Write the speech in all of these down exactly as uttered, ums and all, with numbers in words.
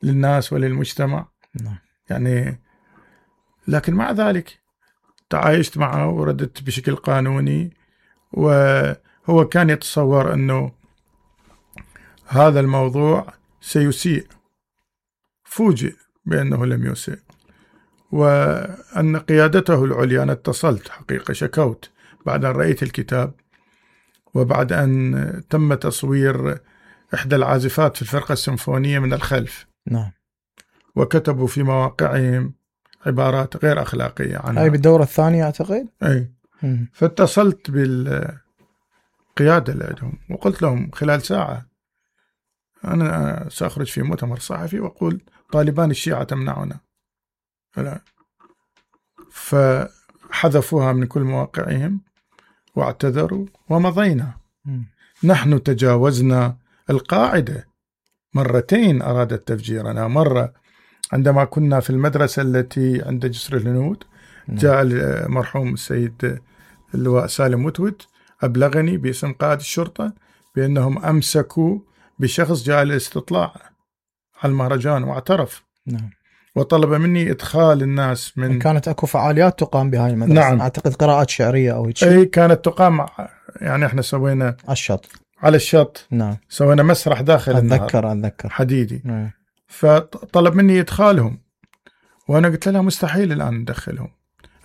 للناس وللمجتمع. نعم. يعني لكن مع ذلك تعايشت معه ورددت بشكل قانوني، وهو كان يتصور أنه هذا الموضوع سيسيء، فوجئ بأنه لم يسيء، وأن قيادته العليا، أنا اتصلت حقيقة شكوت بعد أن رأيت الكتاب وبعد أن تم تصوير إحدى العازفات في الفرقة السيمفونية من الخلف. نعم. وكتبوا في مواقعهم عبارات غير أخلاقية عنها. هاي بالدورة الثانية أعتقد. أي. مم. فاتصلت بالقيادة اللي عندهم وقلت لهم خلال ساعة أنا سأخرج في مؤتمر صحفي وأقول طالبان الشيعة تمنعنا. فحذفوها من كل مواقعهم واعتذروا ومضينا. مم. نحن تجاوزنا القاعدة مرتين، أرادت تفجيرنا. مرة عندما كنا في المدرسة التي عند جسر الهنود، جاء المرحوم السيد اللواء سالم وتوت أبلغني باسم قائد الشرطة بأنهم أمسكوا بشخص جاء للاستطلاع على المهرجان واعترف. نعم. وطلب مني إدخال الناس من كانت أكو فعاليات تقام بهاي المدرسة. نعم. أعتقد قراءات شعرية أو هيك. أي كانت تقام، يعني إحنا سوينا على الشط. على الشط. نعم. سوينا مسرح داخل النهر. أتذكر أتذكر حديدي. نعم. فطلب مني إدخالهم، وأنا قلت له مستحيل الآن ندخلهم.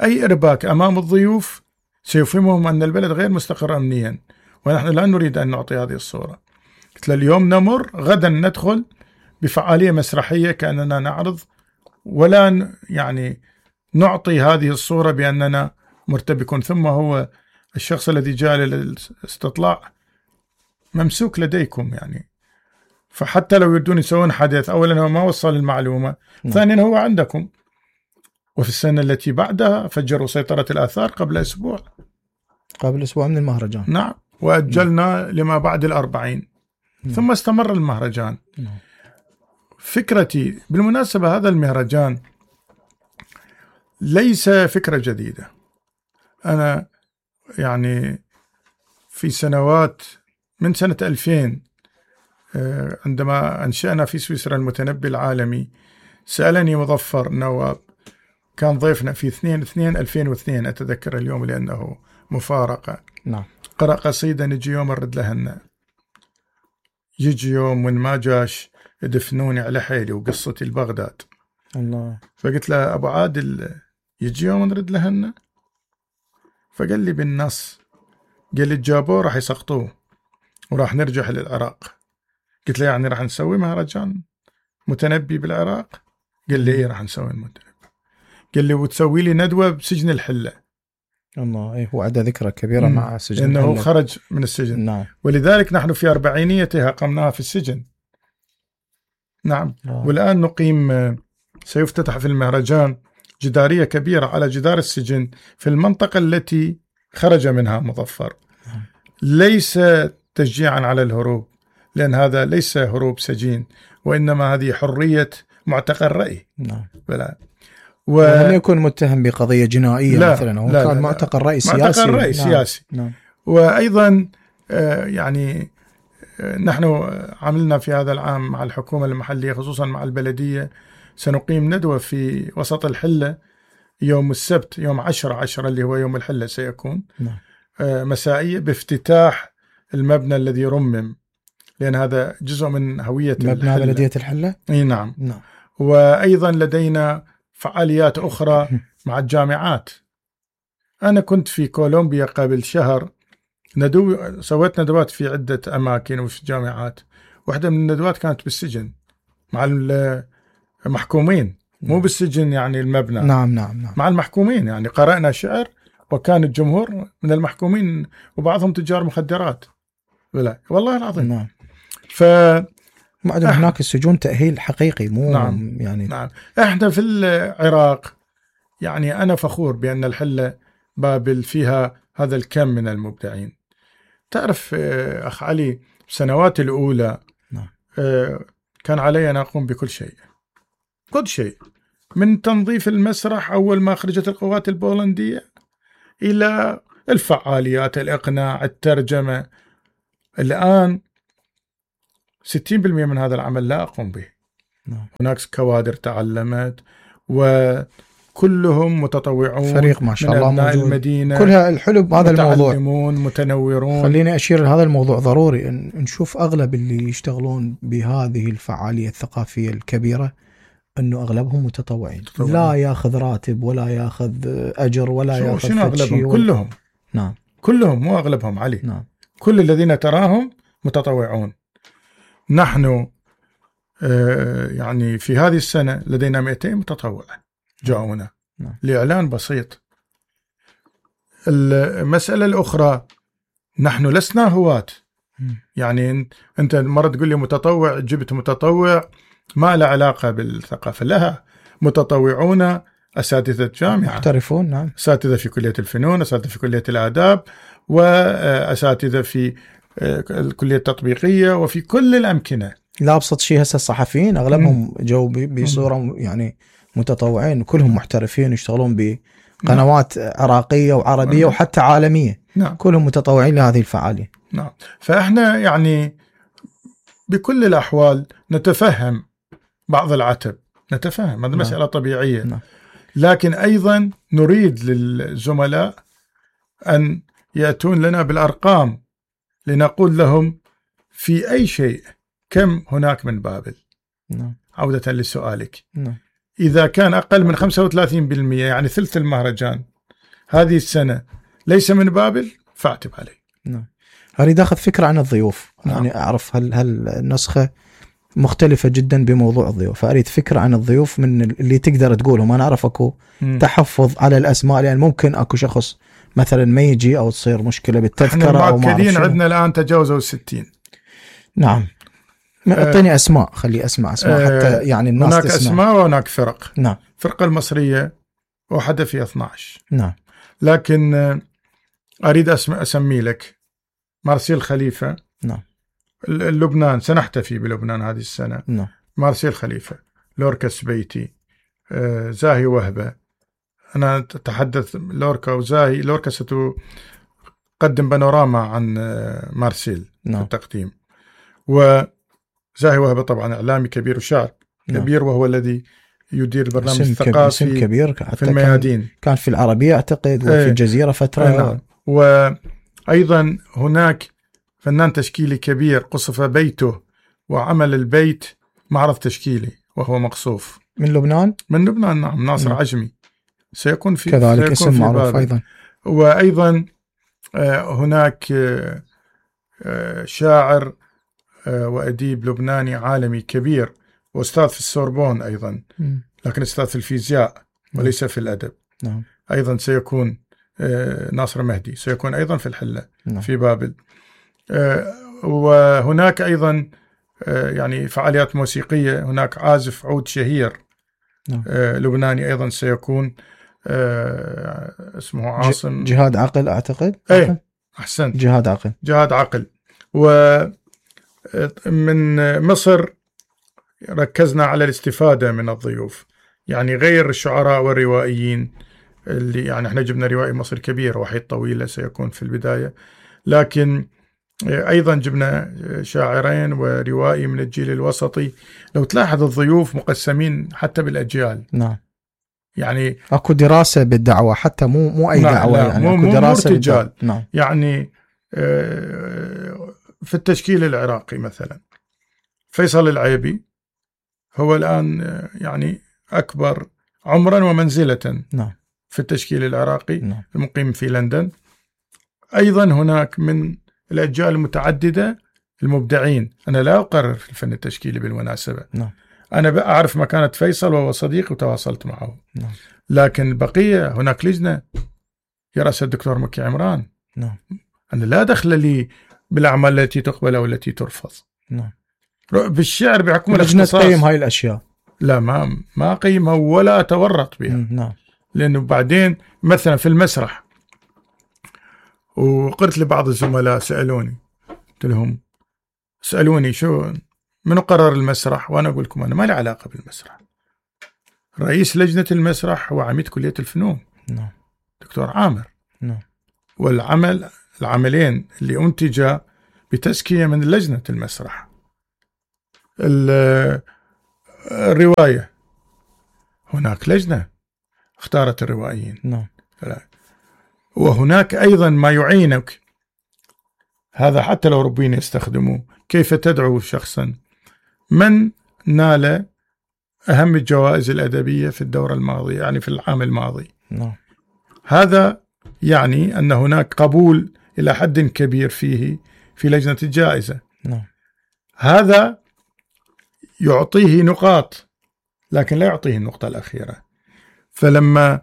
أي إرباك أمام الضيوف سيفهمهم أن البلد غير مستقر أمنيا، ونحن لا نريد أن نعطي هذه الصورة. قلت له اليوم نمر، غدا ندخل بفعالية مسرحية كأننا نعرض، ولا يعني نعطي هذه الصورة بأننا مرتبكون. ثم هو الشخص الذي جاء للاستطلاع ممسوك لديكم، يعني فحتى لو يردون يسوون حدث، أولا هو ما وصل المعلومة، ثانيا هو عندكم. وفي السنة التي بعدها فجروا سيطرة الآثار قبل أسبوع قبل أسبوع من المهرجان. نعم. وأجلنا نعم. لما بعد الأربعين. نعم. ثم استمر المهرجان. نعم. فكرتي بالمناسبة، هذا المهرجان ليس فكرة جديدة. أنا يعني في سنوات من سنة ألفين عندما أنشأنا في سويسرا المتنبي العالمي، سألني مظفر نواب، كان ضيفنا في اثنين اثنين ألفين واثنين، أتذكر اليوم لأنه مفارقة. نعم. قرأ قصيدة نجي يوم نرد لهن، يجي يوم من ما جاش يدفنوني على حيلي وقصتي البغداد. الله. فقلت له أبو عادل يجي يوم نرد لهن، فقال لي بالنص، قال لي الجابوه راح يسقطوه وراح نرجع للعراق. قلت له يعني راح نسوي مهرجان متنبي بالعراق؟ قال لي إيه راح نسوي المتنبي. قال لي وتسوي لي ندوة بسجن الحلة. الله. إيه هو عنده ذكرى كبيرة مع سجن إنه الحلة. خرج من السجن. نعم. ولذلك نحن في أربعينيته قمناها في السجن. نعم. آه. والآن نقيم، سيفتتح في المهرجان جدارية كبيرة على جدار السجن في المنطقة التي خرج منها مظفر. آه. ليس تشجيعا على الهروب، لأن هذا ليس هروب سجين، وإنما هذه حرية معتقل رأي. نعم. بلا و... لم يكن متهم بقضية جنائية لا مثلا، هو لا كان لا معتقل رأي سياسي. معتقل رأي نعم. سياسي. نعم. وأيضا آه يعني آه نحن عملنا في هذا العام مع الحكومة المحلية خصوصا مع البلدية، سنقيم ندوة في وسط الحلة يوم السبت، يوم عشرة عشرة اللي هو يوم الحلة سيكون. نعم. آه مسائية بافتتاح المبنى الذي رمم، لأن هذا جزء من هوية مبنى الحلة. بلدية الحلة. اي نعم. نعم. وأيضا لدينا فعاليات أخرى مع الجامعات. أنا كنت في كولومبيا قبل شهر، ندو سويت ندوات في عدة أماكن وفي جامعات. واحدة من الندوات كانت بالسجن مع المحكومين، مو بالسجن يعني المبنى. نعم نعم نعم. مع المحكومين، يعني قرأنا شعر وكان الجمهور من المحكومين وبعضهم تجار مخدرات. ولا والله العظيم. نعم. ف معدن هناك السجون تأهيل حقيقي، مو نعم. يعني. نعم. احنا في العراق يعني أنا فخور بأن الحلة بابل فيها هذا الكم من المبدعين. تعرف أخ علي، السنوات الأولى نعم. كان علي أن أقوم بكل شيء، كل شيء، من تنظيف المسرح أول ما خرجت القوات البولندية إلى الفعاليات، الإقناع، الترجمة. الآن ستين بالمئة من هذا العمل لا أقوم به. نعم. هناك كوادر تعلمت وكلهم متطوعون، فريق ما شاء الله موجود، المدينة كلها الحلو بهذا الموضوع، متعلمون متنورون. خليني أشير لهذا الموضوع، ضروري أن نشوف أغلب اللي يشتغلون بهذه الفعالية الثقافية الكبيرة أنه أغلبهم متطوعين، لا ياخذ راتب ولا ياخذ أجر ولا ياخذ شنو أغلبهم؟ ولا... كلهم. نعم كلهم، مو أغلبهم علي. نعم. كل الذين تراهم متطوعون. نحن آه يعني في هذه السنة لدينا مئتين متطوع جاءونا. نعم. لإعلان بسيط. المسألة الأخرى، نحن لسنا هواة. يعني أنت مرة تقول لي متطوع، جبت متطوع ما له علاقة بالثقافة، لها متطوعون أساتذة جامعة محترفون. نعم. أساتذة في كلية الفنون، أساتذة في كلية الآداب، وأساتذة في الكلية التطبيقية، وفي كل الأمكنة. لا أبسط شيء هسه الصحفيين أغلبهم جو بصورة يعني متطوعين، كلهم محترفين يشتغلون بقنوات نعم. عراقية وعربية نعم. وحتى عالمية. نعم. كلهم متطوعين لهذه الفعالية. نعم. فإحنا يعني بكل الأحوال نتفهم بعض العتب، نتفهم هذه مسألة نعم. طبيعية. نعم. لكن أيضا نريد للزملاء أن يأتون لنا بالأرقام لنقول لهم في أي شيء كم هناك من بابل. نعم. عودة لسؤالك. نعم. إذا كان أقل من خمسة وثلاثين بالمئة يعني ثلث المهرجان هذه السنة ليس من بابل فاعتب عليه. نعم. أريد أخذ فكرة عن الضيوف. نعم. يعني أعرف هل هل النسخة مختلفة جدا بموضوع الضيوف، فأريد فكرة عن الضيوف من اللي تقدر تقولهم. أنا أعرف أكو م. تحفظ على الأسماء، لأن يعني ممكن أكو شخص مثلا ما يجي أو تصير مشكلة بالتذكرة أو ما أعرف شنو. عندنا الآن تجاوزوا الستين. نعم. أعطيني أسماء، خلي أسماء أسماء أه حتى يعني الناس هناك تسمع. أسماء وهناك فرق. نعم. الفرقة المصرية وحدة في اثنا عشر. نعم. لكن أريد أسمي لك مارسيل خليفة. نعم. لبنان سنحتفي بلبنان هذه السنة. نعم. مارسيل خليفة، لوركا سبيتي، آه، زاهي وهبة. أنا أتحدث لوركا وزاهي. لوركا ستقدم بانوراما عن آه، مارسيل نعم. في التقديم. وزاهي وهبة طبعا إعلامي كبير وشاعر نعم. كبير، وهو الذي يدير البرنامج الثقافي كبير في الميادين. كان, كان في العربية أعتقد وفي ايه. الجزيرة فترة. ايه. نعم. وأيضا هناك فنان تشكيلي كبير قصف بيته وعمل البيت معرض تشكيلي وهو مقصوف. من لبنان؟ من لبنان نعم. ناصر نعم. عجمي سيكون في كذلك سيكون اسم في معروف بابل. أيضا. وأيضا هناك شاعر وأديب لبناني عالمي كبير وأستاذ في السوربون أيضا، لكن أستاذ في الفيزياء وليس في الأدب. نعم. أيضا سيكون ناصر مهدي، سيكون أيضا في الحلة. نعم. في بابل. وهناك أيضا يعني فعاليات موسيقية. هناك عازف عود شهير نعم. لبناني أيضا سيكون اسمه عاصم جهاد عقل أعتقد. أي أحسنت، جهاد عقل. جهاد عقل. ومن مصر ركزنا على الاستفادة من الضيوف، يعني غير الشعراء والروائيين اللي يعني احنا جبنا روائي مصري كبير وحيد طويلة سيكون في البداية، لكن أيضا جبنا شاعرين وروائي من الجيل الوسطي. لو تلاحظ الضيوف مقسمين حتى بالأجيال. نعم. يعني أكو دراسة بالدعوة حتى مو مو أي دعوة. يعني مو أكو دراسة بالدعوة. نعم. يعني في التشكيل العراقي مثلا فيصل العيبي هو الآن يعني أكبر عمرا ومنزلة نعم. في التشكيل العراقي. نعم. المقيم في لندن. أيضا هناك من الأجيال المتعددة المبدعين. أنا لا أقرر في الفن التشكيلي بالمناسبة. نعم. أنا أعرف مكانة فيصل وهو صديق وتواصلت معه. نعم. لكن البقية هناك لجنة يرأسها الدكتور مكي عمران. نعم. أنا لا دخل لي بالأعمال التي تقبل أو التي ترفض. نعم. بالشعر بحكم لجنة تقيم هاي الأشياء. لا ما ما قيمها ولا أتورط بها. نعم. لأنه بعدين مثلا في المسرح، وقلت لبعض الزملاء سألوني، قلت لهم سألوني شو من قرر المسرح، وأنا أقول لكم أنا ما لي علاقة بالمسرح. رئيس لجنة المسرح هو عميد كلية الفنون. نعم. دكتور عامر. نعم. والعمل العملين اللي أنتجا بتزكية من لجنة المسرح. الرواية هناك لجنة اختارت الروائيين. نعم. وهناك أيضا ما يعينك، هذا حتى لو ربين يستخدموه، كيف تدعو شخصا من نال أهم الجوائز الأدبية في الدورة الماضية، يعني في العام الماضي. نعم. هذا يعني أن هناك قبول إلى حد كبير فيه في لجنة الجائزة. نعم. هذا يعطيه نقاط، لكن لا يعطيه النقطة الأخيرة. فلما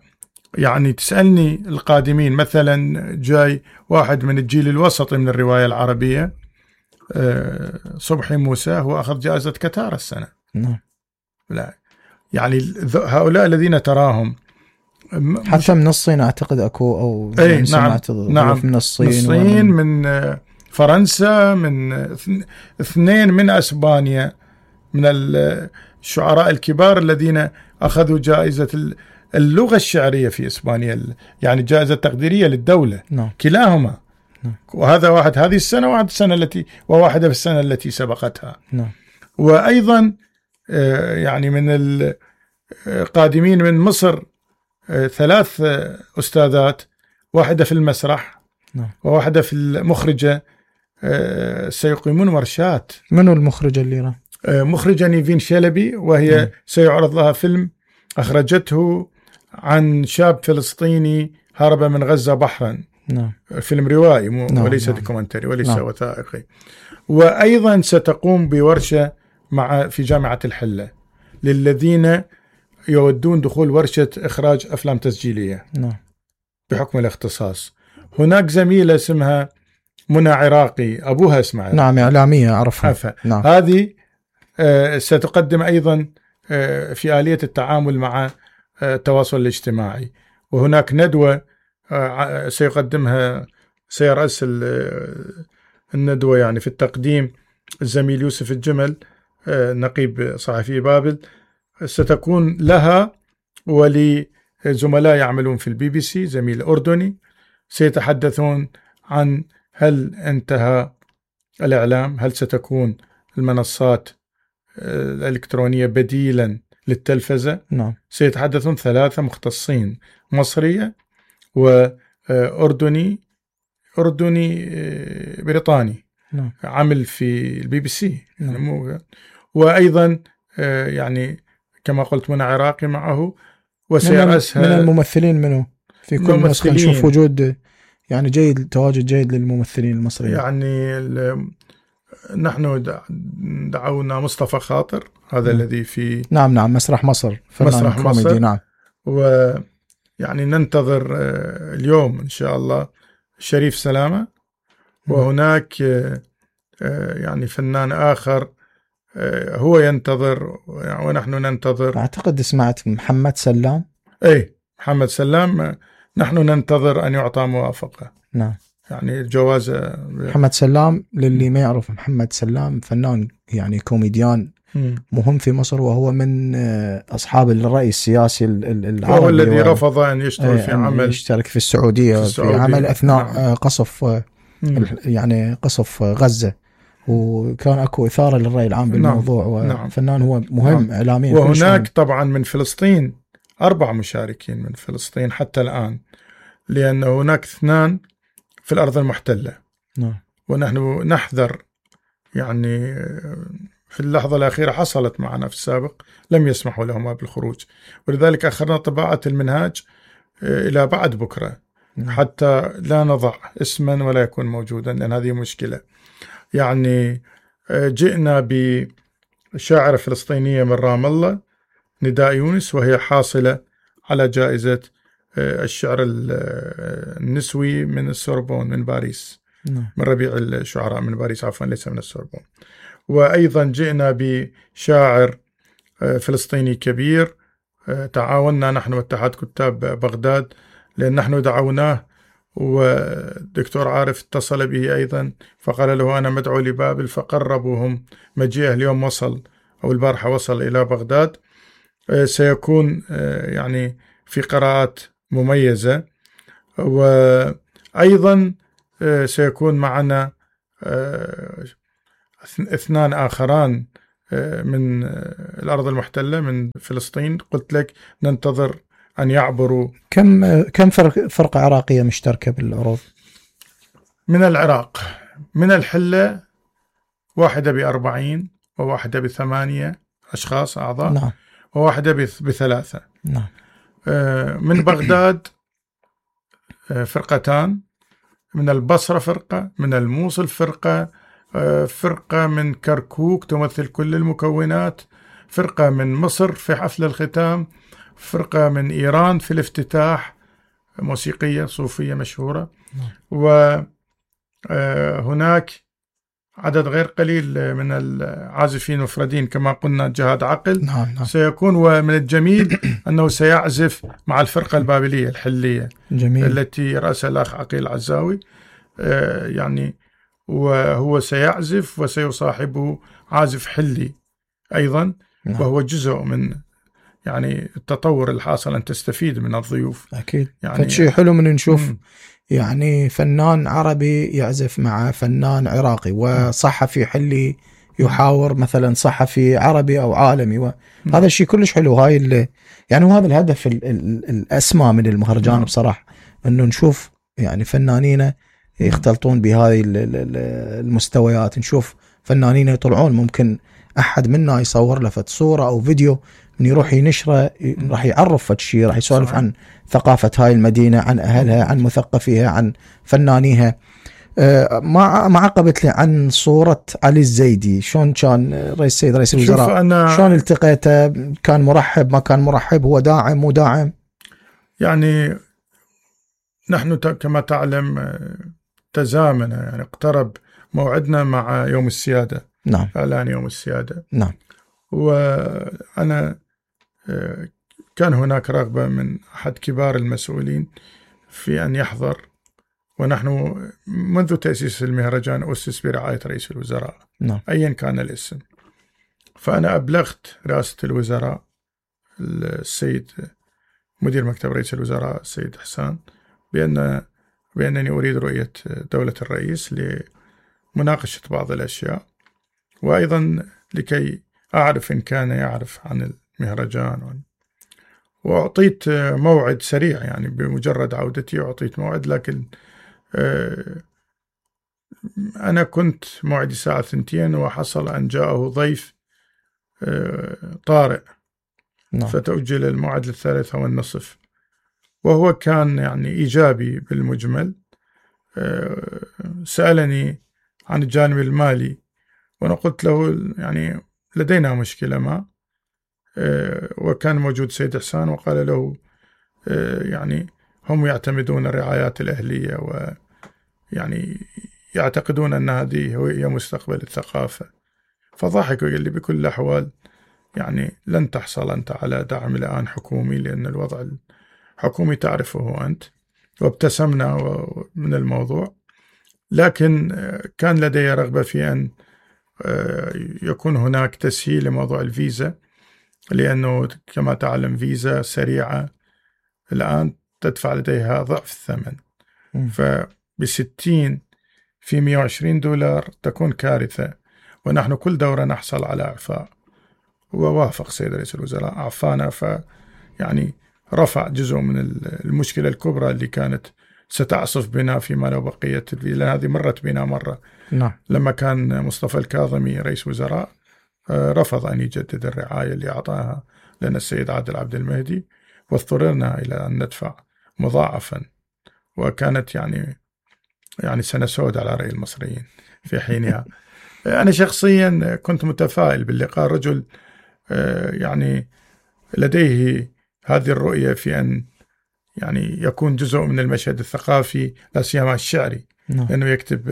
يعني تسألني القادمين، مثلا جاي واحد من الجيل الوسطي من الرواية العربية، صبحي موسى، هو أخذ جائزة كتار السنة. نعم. لا يعني هؤلاء الذين تراهم حتى من الصين أعتقد أكو، أو أي نعم, نعم من الصين, الصين من فرنسا، من اثنين من أسبانيا، من الشعراء الكبار الذين أخذوا جائزة اللغة الشعرية في إسبانيا، يعني جائزة تقديرية للدولة. نعم. كلاهما. نعم. وهذا واحد هذه السنة، وواحد السنة التي وواحدة في السنة التي سبقتها. نعم. وأيضا يعني من القادمين من مصر ثلاث أستاذات، واحدة في المسرح. نعم. وواحدة في المخرجة، سيقيمون ورشات. منو المخرجة اللي مخرجة نيفين شلبي، وهي نعم. سيعرض لها فيلم أخرجته عن شاب فلسطيني هرب من غزة بحرا. نعم. فيلم روائي نعم. وليس نعم. دوكومنتري وليس نعم. وثائقي. وأيضا ستقوم بورشة مع في جامعة الحلة للذين يودون دخول ورشة إخراج أفلام تسجيلية. نعم. بحكم الاختصاص. هناك زميلة اسمها منى عراقي، أبوها اسمها نعم إعلامية أعرفها. نعم. هذه ستقدم أيضا في آلية التعامل مع التواصل الاجتماعي. وهناك ندوة سيقدمها سيرأس الندوة يعني في التقديم الزميل يوسف الجمل، نقيب صحفي بابل، ستكون لها ولزملاء يعملون في البي بي سي، زميل أردني، سيتحدثون عن هل انتهى الإعلام، هل ستكون المنصات الإلكترونية بديلا للتلفزة. نعم. سيتحدثون ثلاثة مختصين، مصرية وأردني أردني بريطاني. نعم. عمل في البي بي سي. نعم. وأيضا يعني كما قلت منى عراقي معه، وسيرأسها من الممثلين منه في كل نسخة نشوف وجود يعني جيد، تواجد جيد للممثلين المصريين. يعني نحن دعونا مصطفى خاطر، هذا م. الذي في نعم نعم مسرح مصر، مسرح مصر. نعم. ويعني ننتظر اليوم إن شاء الله شريف سلامة. م. وهناك يعني فنان آخر هو ينتظر ونحن ننتظر. أعتقد سمعت محمد سلام. أي محمد سلام، نحن ننتظر أن يعطى موافقة. نعم. يعني الجوازة. محمد سلام للي ما يعرف، محمد سلام فنان يعني كوميديان م. مهم في مصر، وهو من أصحاب الرأي السياسي العربي، وهو الذي رفض أن يشترك في عمل يشترك في السعودية في, السعودية. في عمل أثناء نعم. قصف م. يعني قصف غزة، وكان أكو إثارة للرأي العام بالموضوع. نعم. وفنان هو مهم نعم. إعلاميا. وهناك طبعا من فلسطين أربع مشاركين من فلسطين حتى الآن، لأن هناك اثنان في الأرض المحتلة. نعم. ونحن نحذر يعني في اللحظة الأخيرة حصلت معنا في السابق لم يسمحوا لهما بالخروج، ولذلك أخرنا طباعة المنهاج إلى بعد بكرة. نعم. حتى لا نضع اسما ولا يكون موجودا، لأن هذه مشكلة. يعني جئنا بشاعرة فلسطينية من رام الله، نداء يونس، وهي حاصلة على جائزة الشعر النسوي من السوربون من باريس. نعم. من ربيع الشعراء من باريس، عفوا ليس من السوربون. وأيضا جئنا بشاعر فلسطيني كبير، تعاوننا نحن واتحاد كتاب بغداد، لأن نحن دعوناه ودكتور عارف اتصل به أيضا فقال له أنا مدعو لبابل، فقربوهم مجيئه. اليوم وصل أو البارحة وصل إلى بغداد. سيكون يعني في قراءات مميزة. وأيضا سيكون معنا اثنان آخران من الأرض المحتلة من فلسطين. قلت لك ننتظر أن يعبروا. كم كم فرق فرقة عراقية مشتركة بالعروض؟ من العراق من الحلة واحدة بأربعين وواحدة بثمانية أشخاص أعضاء. نعم. وواحدة بثلاثة. نعم. من بغداد فرقتان، من البصرة فرقة، من الموصل فرقة، فرقة من كركوك تمثل كل المكونات، فرقة من مصر في حفل الختام، فرقة من إيران في الافتتاح، موسيقية صوفية مشهورة. وهناك عدد غير قليل من العازفين مفردين كما قلنا جهاد عقل. نعم نعم. سيكون. ومن الجميل أنه سيعزف مع الفرقة البابلية الحلية. جميل. التي رأسها الأخ عقيل عزاوي، يعني وهو سيعزف وسيصاحبه عازف حلي أيضا. نعم. وهو جزء من يعني التطور الحاصل أن تستفيد من الضيوف. أكيد. يعني فشي حلو من نشوف م. يعني فنان عربي يعزف مع فنان عراقي، وصحفي حلي يحاور مثلا صحفي عربي أو عالمي، وهذا الشيء كلش حلو. هاي اللي يعني وهذا الهدف ال ال الأسمى من المهرجان. نعم. بصراحة أنه نشوف يعني فنانين يختلطون بهذه المستويات، نشوف فنانين يطلعون ممكن أحد منا يصور له صورة أو فيديو من يروح ينشره، راح يعرف فد شيء، راح يسولف صحيح. عن ثقافة هاي المدينة، عن أهلها، عن مثقفيها، عن فنانيها. أه ما ما عقبت لي عن صورة علي الزيدي، شلون كان رئيس السيد رئيس الوزراء؟ أنا شلون التقيته؟ كان مرحب ما كان مرحب؟ هو داعم مو داعم؟ يعني نحن كما تعلم تزامن، يعني اقترب موعدنا مع يوم السيادة. نعم. إعلان يوم السيادة. نعم. وأنا كان هناك رغبة من أحد كبار المسؤولين في أن يحضر، ونحن منذ تأسيس المهرجان أسس برعاية رئيس الوزراء. نعم. أيا كان الاسم. فأنا أبلغت رئاسة الوزراء السيد مدير مكتب رئيس الوزراء السيد حسان بأن بأنني أريد رؤية دولة الرئيس لمناقشة بعض الأشياء، وأيضا لكي أعرف إن كان يعرف عن المهرجان. وأعطيت موعد سريع، يعني بمجرد عودتي أعطيت موعد، لكن أنا كنت موعدي الساعة ثنتين وحصل أن جاءه ضيف طارئ. نعم. فتأجل الموعد للثالثة والنصف، وهو كان يعني إيجابي بالمجمل. سألني عن الجانب المالي، وأنا قلت له يعني لدينا مشكلة ما، وكان موجود سيد حسان وقال له يعني هم يعتمدون الرعايات الأهلية، ويعني يعتقدون أن هذه هي مستقبل الثقافة. فضحك وقال لي بكل الأحوال يعني لن تحصل أنت على دعم الآن حكومي، لأن الوضع الحكومي تعرفه أنت. وابتسمنا من الموضوع، لكن كان لدي رغبة في أن يكون هناك تسهيل لموضوع الفيزا، لأنه كما تعلم فيزا سريعة الآن تدفع لديها ضعف الثمن. فبستين في مئة وعشرين دولار تكون كارثة، ونحن كل دورة نحصل على إعفاء. ووافق سيد رئيس الوزراء أعفانا، فيعني رفع جزء من المشكلة الكبرى اللي كانت ستعصف بنا فيما لو بقيت الفيزا. هذه مرت بنا مرة. نعم. لما كان مصطفى الكاظمي رئيس وزراء رفض أن يجدد الرعاية اللي أعطاها لنا السيد عادل عبد المهدي، واضطررنا إلى أن ندفع مضاعفا، وكانت يعني يعني سنة سوداء على رأي المصريين في حينها. أنا شخصيا كنت متفائل باللقاء. رجل يعني لديه هذه الرؤية في أن يعني يكون جزء من المشهد الثقافي، لا سيما الشعري. نعم. لأنه يكتب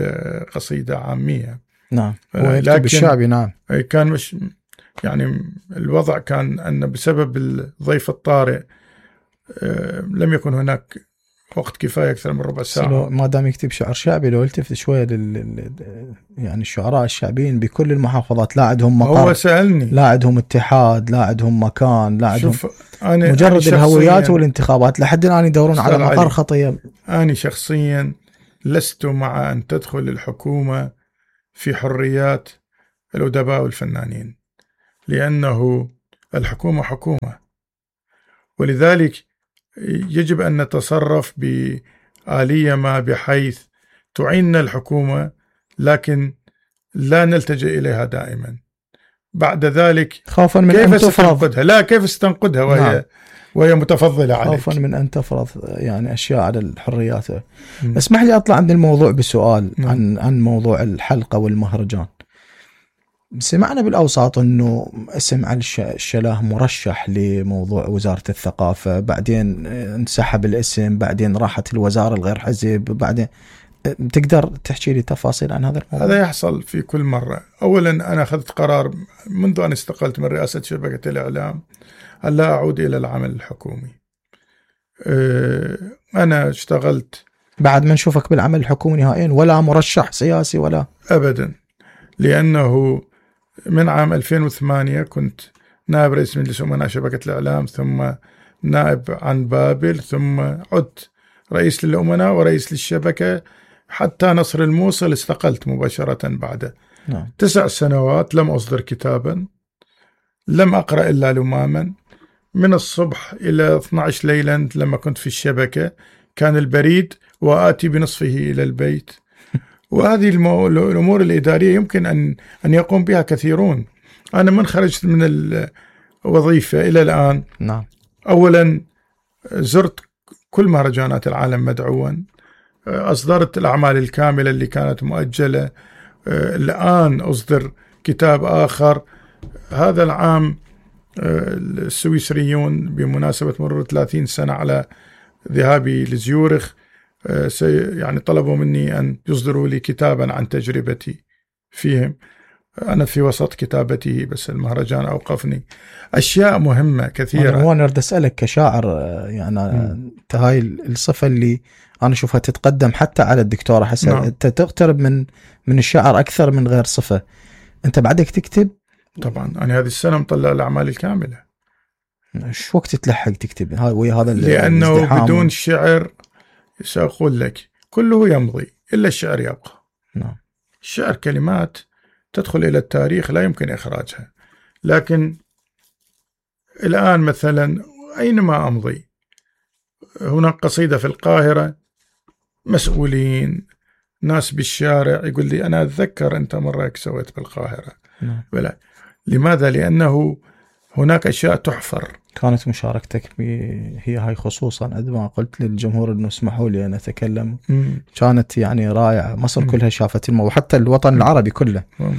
قصيدة عامية. نعم. هو يكتب الشعبي. نعم. كان مش يعني الوضع كان أن بسبب الضيف الطارئ لم يكن هناك وقت كفاية أكثر من ربع ساعة. ما دام يكتب شعر شعبي لو التفت شوية لل يعني الشعراء الشعبيين بكل المحافظات، لا عندهم مقر، هو سألني لا عندهم اتحاد، لا عندهم مكان، لا عندهم أنا مجرد أنا الهويات والانتخابات لحد الآن يدورون على مقر خطية. أنا شخصيا لست مع أن تدخل الحكومة في حريات الأدباء والفنانين. لأنه الحكومة حكومة، ولذلك يجب أن نتصرف بآلية ما بحيث تعيننا الحكومة، لكن لا نلتجئ إليها دائما. بعد ذلك خوفا من كيف أن تفرض ستنقذها؟ لا، كيف ستنقذها وهي نعم. وهي متفضلة عليك، خوفا من أن تفرض يعني أشياء على الحريات. م. اسمح لي أطلع عن الموضوع بسؤال م. عن عن موضوع الحلقة والمهرجان. سمعنا بالأوساط أنه اسم علي الشلاه مرشح لموضوع وزارة الثقافة، بعدين انسحب الاسم، بعدين راحت الوزارة الغير حزب، بعدين تقدر تحكي لي تفاصيل عن هذا الموضوع؟ هذا يحصل في كل مرة. أولا أنا أخذت قرار منذ أن استقلت من رئاسة شبكة الإعلام أن لا أعود إلى العمل الحكومي. أنا اشتغلت بعد ما نشوفك بالعمل الحكومي نهائيا، ولا مرشح سياسي ولا أبدا، لأنه من عام ألفين وثمانية كنت نائب رئيس مجلس أمناء شبكة الإعلام، ثم نائب عن بابل، ثم عدت رئيس للأمناء ورئيس للشبكة حتى نصر الموصل استقلت مباشرة بعده. نعم. تسع سنوات لم أصدر كتابا، لم أقرأ إلا لماما. من الصبح إلى اثنتي عشرة ليلا لما كنت في الشبكة كان البريد وآتي بنصفه إلى البيت. وهذه المو... الأمور الإدارية يمكن أن أن يقوم بها كثيرون. أنا من خرجت من الوظيفة إلى الآن، نعم. أولا زرت كل مهرجانات العالم مدعوا، أصدرت الأعمال الكاملة اللي كانت مؤجلة، الآن أصدر كتاب آخر. هذا العام السويسريون بمناسبة مرور ثلاثين سنة على ذهابي لزيورخ يعني طلبوا مني أن يصدروا لي كتابا عن تجربتي فيهم. أنا في وسط كتابته بس المهرجان أوقفني. أشياء مهمة كثيرة. أنا هو نريد أسألك كشاعر، يعني أنت هاي الصفة اللي أنا أشوفها تتقدم حتى على الدكتورة حسن. نعم. أنت تقترب من من الشعر أكثر من غير صفة. أنت بعدك تكتب؟ طبعا أنا هذه السنة مطلع الأعمال الكاملة. شو وقت تلحق تكتب هاي ويا هذا؟ لأنه بدون شعر سأقول لك كله يمضي إلا الشعر يبقى. نعم. الشعر كلمات تدخل إلى التاريخ لا يمكن إخراجها. لكن الآن مثلا أينما أمضي هناك قصيدة في القاهرة، مسؤولين ناس بالشارع يقول لي أنا أتذكر أنت مرة سويت بالقاهرة. نعم. ولا لماذا؟ لأنه هناك أشياء تحفر. كانت مشاركتك هي هاي خصوصا عندما قلت للجمهور أنه اسمحوا لي أن أتكلم، مم. كانت يعني رائعة. مصر مم. كلها شافت الموضوع، حتى الوطن العربي كله. مم.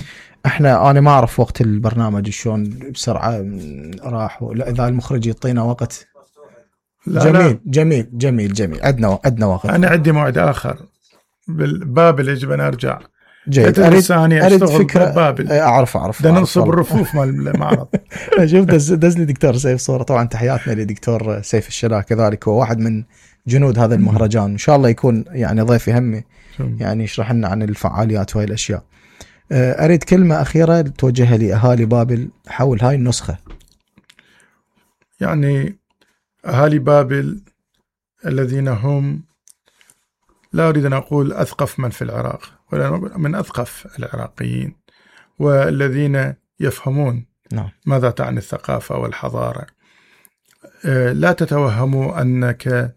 احنا أنا ما أعرف وقت البرنامج شلون بسرعة راح، لا إذا المخرج يعطينا وقت. لا جميل لا. جميل جميل جميل عندنا عندنا وقت. أنا عندي موعد آخر بالبابل يجب أن أرجع. جيد. أريد, أريد فكرة بابل. أعرف أعرف ده ننصب الرفوف مال المعرض. شوف دز, دز لي دكتور سيف صورة. طبعا تحياتنا لدكتور سيف الشلاه، كذلك هو واحد من جنود هذا المهرجان. إن شاء الله يكون يعني ضيف يهمي، يعني يشرح لنا عن الفعاليات وهي الأشياء. أريد كلمة أخيرة توجهها لأهالي بابل حول هاي النسخة. يعني أهالي بابل الذين هم، لا أريد أن أقول أثقف من في العراق، ولا من أثقف العراقيين، والذين يفهمون نعم. ماذا تعني الثقافة والحضارة. لا تتوهموا أنك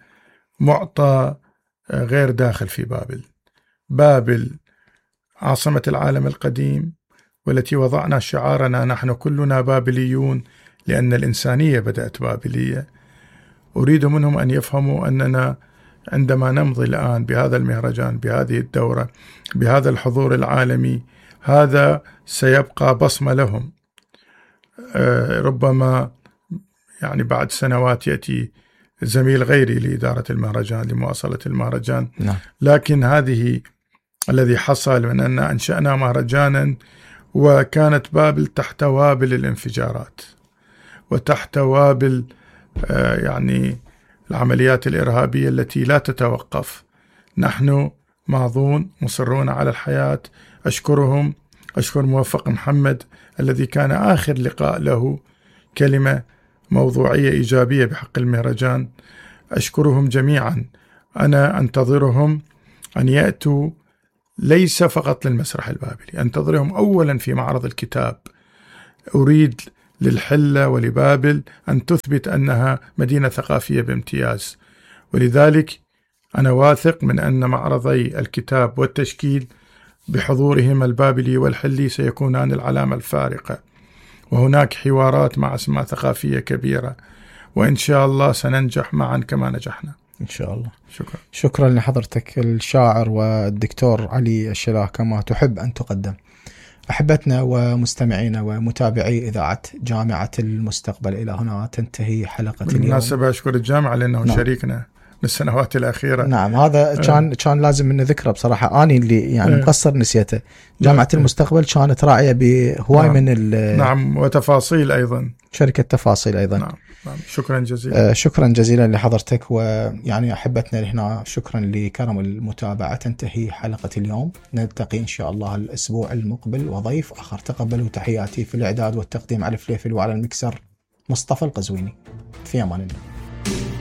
معطى غير داخل في بابل. بابل عاصمة العالم القديم، والتي وضعنا شعارنا نحن كلنا بابليون لأن الإنسانية بدأت بابلية. أريد منهم أن يفهموا أننا عندما نمضي الآن بهذا المهرجان، بهذه الدورة، بهذا الحضور العالمي، هذا سيبقى بصمة لهم. ربما يعني بعد سنوات يأتي زميل غيري لإدارة المهرجان لمواصلة المهرجان. نعم. لكن هذه الذي حصل من أن أنشأنا مهرجانا وكانت بابل تحت وابل الانفجارات وتحت وابل يعني العمليات الإرهابية التي لا تتوقف. نحن ماضون مصرون على الحياة. أشكرهم. أشكر موفق محمد الذي كان آخر لقاء له كلمة موضوعية إيجابية بحق المهرجان. أشكرهم جميعا. أنا أنتظرهم أن يأتوا ليس فقط للمسرح البابلي، أنتظرهم أولا في معرض الكتاب. أريد للحلة ولبابل أن تثبت أنها مدينة ثقافية بامتياز. ولذلك أنا واثق من أن معرضي الكتاب والتشكيل بحضورهما البابلي والحلي سيكونان العلامة الفارقة، وهناك حوارات مع أسماء ثقافية كبيرة، وإن شاء الله سننجح معا كما نجحنا إن شاء الله. شكرا. شكرا لحضرتك الشاعر والدكتور علي الشلاه كما تحب أن تقدم. أحبتنا ومستمعينا ومتابعي إذاعة جامعة المستقبل، إلى هنا تنتهي حلقة اليوم. بالمناسبة أشكر الجامعة لأنه نعم. شريكنا بالسنوات الأخيرة. نعم، هذا كان كان لازم منه ذكره بصراحة، أني اللي يعني أه. مقصر نسيته. جامعة أه. المستقبل كانت راعية بهواي نعم. من نعم، وتفاصيل أيضا، شركة تفاصيل أيضا. نعم. نعم. شكرا جزيلا. آه شكرا جزيلا لحضرتك، ويعني أحبتنا هنا شكرا لكرم المتابعة. تنتهي حلقة اليوم، نلتقي إن شاء الله الأسبوع المقبل وضيف آخر. تقبلوا تحياتي في الإعداد والتقديم على الفليفل، وعلى المكسر مصطفى القزويني. في أمان الله.